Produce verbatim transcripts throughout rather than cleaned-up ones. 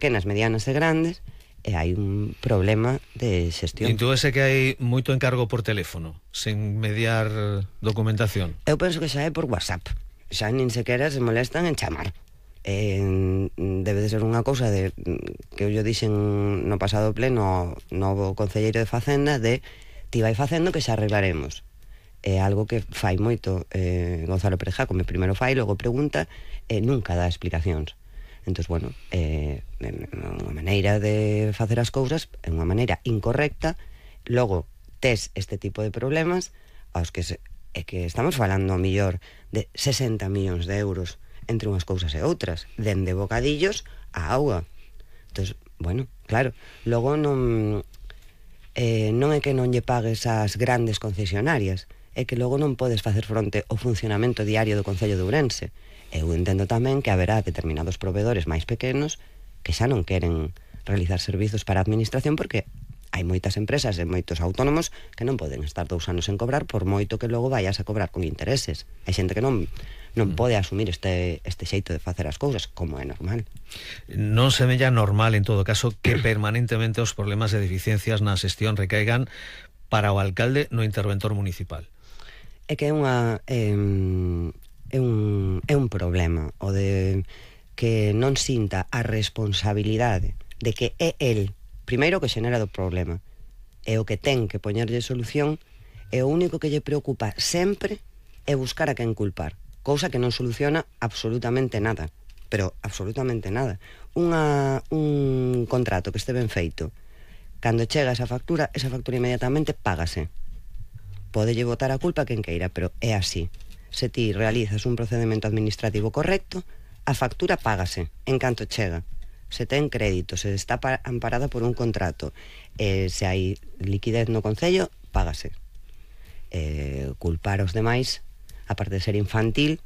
pequenas, medianas e grandes, e hai un problema de xestión. Intúese que hai moito encargo por teléfono, sen mediar documentación? Eu penso que xa é por WhatsApp, xa nin sequera se molestan en chamar. Eh, debe de ser unha cousa de que eu lle dixen no pasado pleno novo concelleiro de Facenda, de ti vai facendo que xa arreglaremos. É algo que fai moito eh, Gonzalo Pérez Jácome, primeiro fai, logo pregunta, e nunca dá explicacións. Entón, bueno, é eh, unha maneira de facer as cousas, é unha maneira incorrecta. Logo tes este tipo de problemas aos que se, é que estamos falando a millor de sesenta millóns de euros entre unhas cousas e outras, dende bocadillos a auga. Entón, bueno, claro, logo non eh, non é que non lle pagues ás grandes concesionarias, é que logo non podes facer fronte ao funcionamento diario do Concello de Ourense. Eu entendo tamén que haberá determinados proveedores máis pequenos que xa non queren realizar servizos para a administración, porque hai moitas empresas e moitos autónomos que non poden estar dous anos en cobrar, por moito que logo vayas a cobrar con intereses. Hai xente que non non pode asumir este, este xeito de facer as cousas, como é normal. Non semella normal, en todo caso, que permanentemente os problemas de deficiencias na xestión recaigan para o alcalde no interventor municipal? É que é unha... Eh, É un, é un problema o de que non sinta a responsabilidade de que é el primeiro que xenera do problema, e o que ten que poñerlle solución, e o único que lle preocupa sempre é buscar a quen culpar, cousa que non soluciona absolutamente nada, pero absolutamente nada. Unha, un contrato que este ben feito, cando chega esa factura, esa factura inmediatamente págase. Podelle botar a culpa a quen queira, pero é así. Se ti realizas un procedimento administrativo correcto, a factura págase en canto chega. Se ten crédito, se está amparada por un contrato, eh, se hai liquidez no Concello, págase. Eh, culpar aos demais, aparte de ser infantil,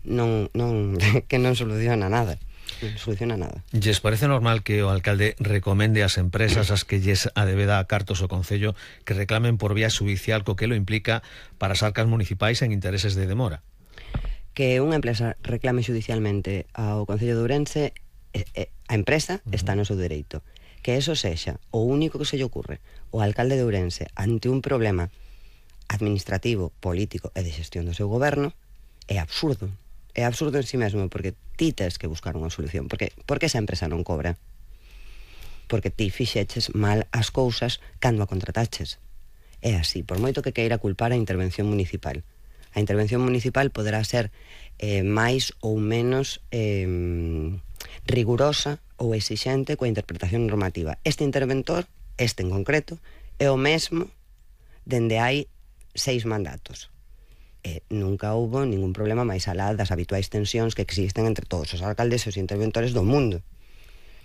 non, non, que non soluciona nada. Non soluciona nada. Lles parece normal que o alcalde recomende ás empresas as que lles adebeda a cartos o Concello que reclamen por vía xudicial, co que lo implica para as arcas municipais en intereses de demora? Que unha empresa reclame xudicialmente ao Concello de Ourense, eh, eh, a empresa está no seu dereito. Que eso sexa o único que se lle ocurre o alcalde de Ourense ante un problema administrativo, político e de xestión do seu goberno é absurdo. É absurdo en si mesmo, porque ti tes que buscar unha solución. Porque, porque esa empresa non cobra? Porque ti fixeches mal as cousas cando a contrataches. É así, por moito que queira culpar a intervención municipal. A intervención municipal poderá ser eh, máis ou menos eh, rigurosa ou exixente coa interpretación normativa. Este interventor, este en concreto, é o mesmo dende hai seis mandatos. Eh, nunca houbo ningún problema máis alá das habituais tensións que existen entre todos os alcaldes e os interventores do mundo.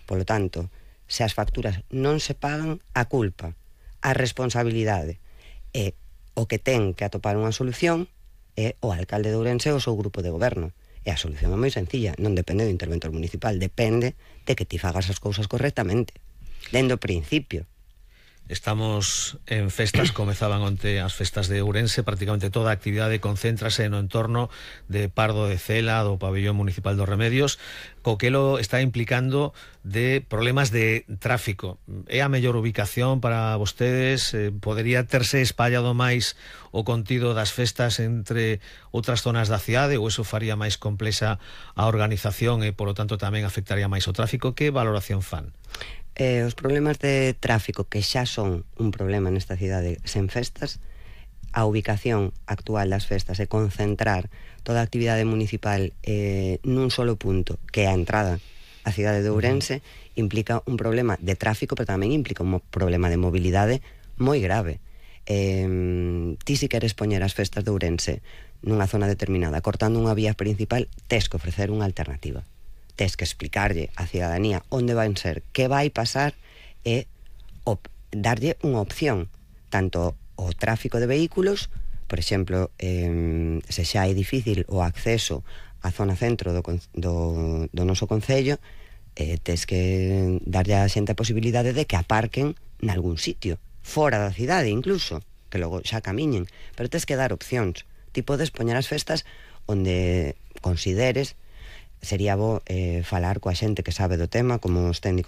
Polo tanto, se as facturas non se pagan, a culpa, a responsabilidade e o que ten que atopar unha solución é o alcalde de Ourense ou o seu grupo de goberno. E a solución é moi sencilla, non depende do interventor municipal, depende de que ti fagas as cousas correctamente, dende o principio. Estamos en festas, comezaban onte as festas de Ourense, prácticamente toda a actividade concéntrase no entorno de Pardo de Cela, do pabellón municipal dos Remedios, co que lo está implicando de problemas de tráfico. É a mellor ubicación para vostedes? Eh, podería terse espallado máis o contido das festas entre outras zonas da cidade, ou eso faría máis complexa a organización e, polo tanto, tamén afectaría máis o tráfico? Que valoración fan? Eh, os problemas de tráfico, que xa son un problema nesta cidade sen festas, a ubicación actual das festas e concentrar toda a actividade municipal eh, nun solo punto, que é a entrada á cidade de Ourense, implica un problema de tráfico, pero tamén implica un problema de mobilidade moi grave. Eh, ti si queres poñer as festas de Ourense nunha zona determinada, cortando unha vía principal, tes que ofrecer unha alternativa. Tes que explicarlle á cidadanía onde van ser, que vai pasar, e op, darlle unha opción, tanto o tráfico de vehículos, por exemplo, eh, se xa é difícil o acceso á zona centro do, do, do noso concello, eh, tes que darlle á xente a posibilidade de que aparquen nalgún sitio, fora da cidade incluso, que logo xa camiñen, pero tes que dar opcións. Ti podes poñer as festas onde consideres sería bo eh, falar coa xente que sabe do tema, como os técnicos